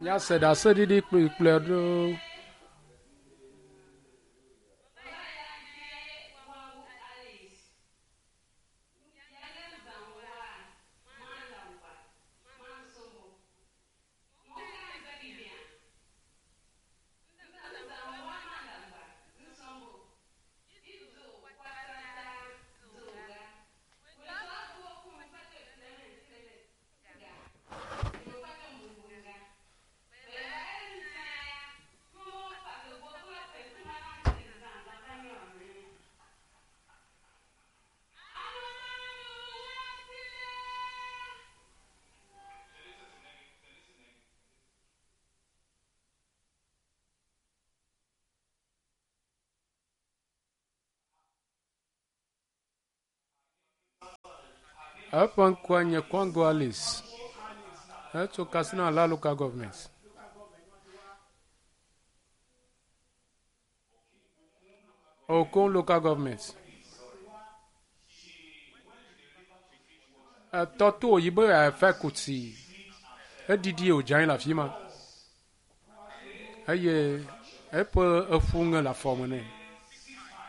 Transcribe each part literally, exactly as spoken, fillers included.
Míase ɖaseɖiɖi kplikpli ɖewo. Eƒe ŋkɔe nye Kwango Alice. Etso Katsina la Local Government. Okon Local Government. Etɔ to yi be efe kuti. Eɖiɖi wòdze anyi le afi ma. Eye eƒe eƒu ŋe le afɔme nɛ.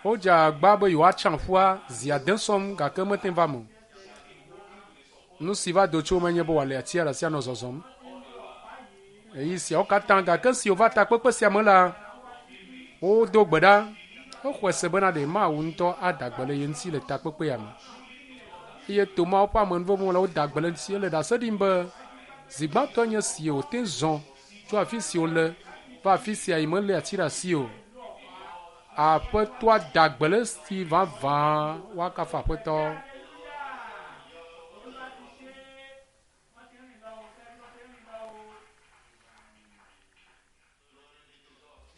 Wodze agba be yewoatsa ƒua zi ade sɔm gake mete va me o. Nu si va do tso eme nye be wòale atia ɖe asi anɔ zɔzɔm. Eyi siawo katã gake si wòva takpekpe sia me la, wodo gbe ɖa. Exɔe se bena ɖe Mawu ŋutɔ ada gbe le ye ŋuti le takpekpe ya me. Eye to Mawu ƒe amenuveve la woda gbe le eŋuti. Ele ɖase ɖim be zi gbãtɔ nye si wòte zɔ tso afi si wòle va afi sia yi melé ati ɖe asi o. Aƒetɔa da gbe le esi vavã woakafu aƒetɔ.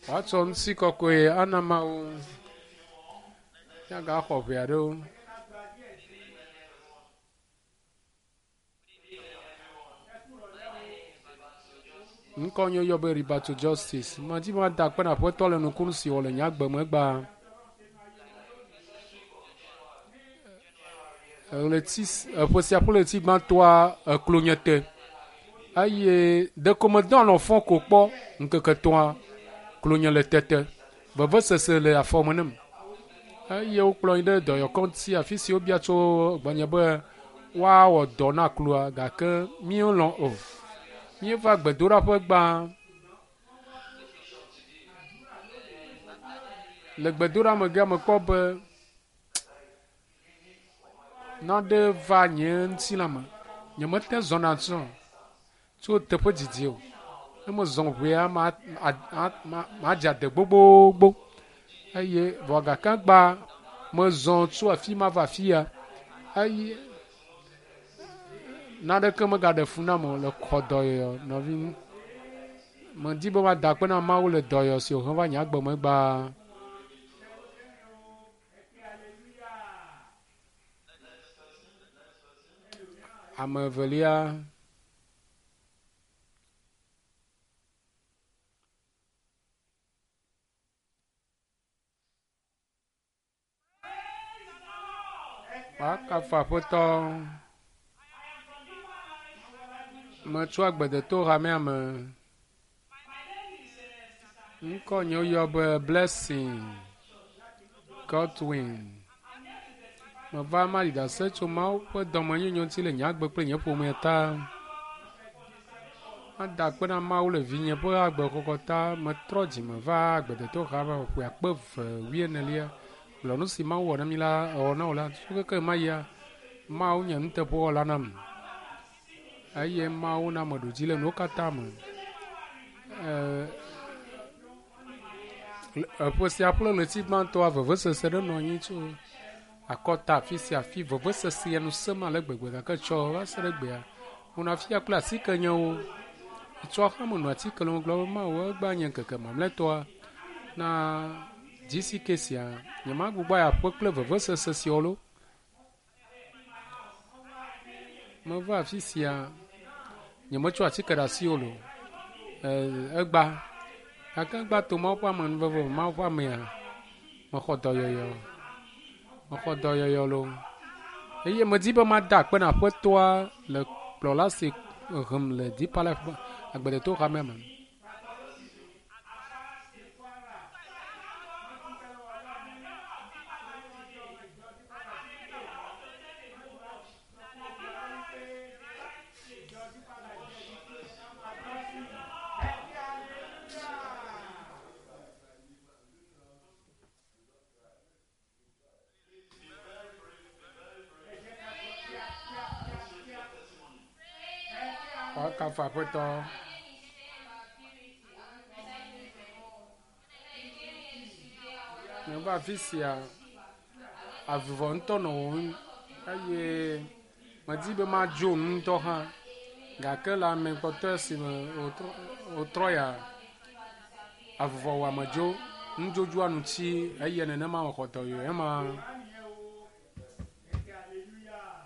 Woatsɔ ŋutikɔkɔe ana Mawu. Míagaxɔ ʋe aɖewo. Ŋkɔ nye woyɔ be Ribato Justice. Medi be mada akpe na aƒetɔ le nukunu si wòwɔ le nye agbe me egbea. Ɣleti eƒe sia ƒe ɣleti gbãtɔa eklo nye te eye ɖeko medɔ alɔ̃ fɔ ko kpɔ ŋkeke etɔ̃a klo nye le tete. Vevesese le afɔme nem eye wokplɔ yi ɖe dɔyɔkɔŋuti afi si wobia tso gbɔnye be woawɔ dɔ na kloa gake míelɔ̃ o. Míeva gbedoɖaƒe gbã. Le gbedoɖa megea mekpɔ be nane va nye ŋutilã me. Nyemete zɔna tsɔ tso teƒe didi o. Ne mezɔ ʋea ma madze ade gbogbogbo eye vɔ gake gba mezɔ tso afi ma va afi ya eye naneke megaɖe fu nam o le xɔ dɔyɔyɔ nɔvi. Medi be mada akpe na Mawu le dɔyɔyɔ si wòhe va nye agbe me gbaa. Ame evelia. Woakafu aƒetɔ. Metso agbedeto hamea me. Ŋkɔ nye woyɔ be Blessing Godwin. Meva maɖi ɖase tso Mawu ƒe dɔmenyonyo ŋuti le nye agbe kple nye ƒomea ta. Mada akpe na Mawu le vinye ƒe agbexɔxɔ ta. Metrɔ dzime va agbedeto hame ƒe akpe eve wuienelia. Gblɔ nu si Mawu wɔ na mi la ewɔ na wò la tso keke ma yia Mawu nye nuteƒewɔla nam eye Mawu na meɖu dzi le nuwo katã me. Ee, eƒe sia ƒe ɣleti gbãtɔa vevesese ɖe nɔ anyi tso akɔta afi sia afi vevesese ya nu sẽm ale gbegbe gake tsɔ va se ɖe egbea menɔ afia kple atike nyewo. Tsɔ hã menɔ atike lɔm gblɔ be Mawu egbea nye ŋkeke mamlɛtɔa na GCK sia nyemagbugbɔ ayi aƒe kple vevesese siawo loo. Meva afi sia nyemetsɔ atike ɖe asi o loo. Ee, egba gake egba to Mawu ƒe amenuveve me Mawu ƒe amea mexɔ dɔyɔyɔ mexɔ dɔyɔyɔ loo eye medi be mada akpe na aƒetɔa le kplɔla si hem le Deeper Life agbedeto hamea me. Woakafu Aƒetɔ. Meva afi sia, avuvɔ ŋutɔ nɔ wɔwɔm eye medi be madzo nu ŋutɔ hã gake le ame kpɔtɔe si me wòtrɔ wòtrɔ ya avuvɔ wɔame dzo, nudzodzoa nu tsi eye nenema wòxɔ dɔyɔe ema.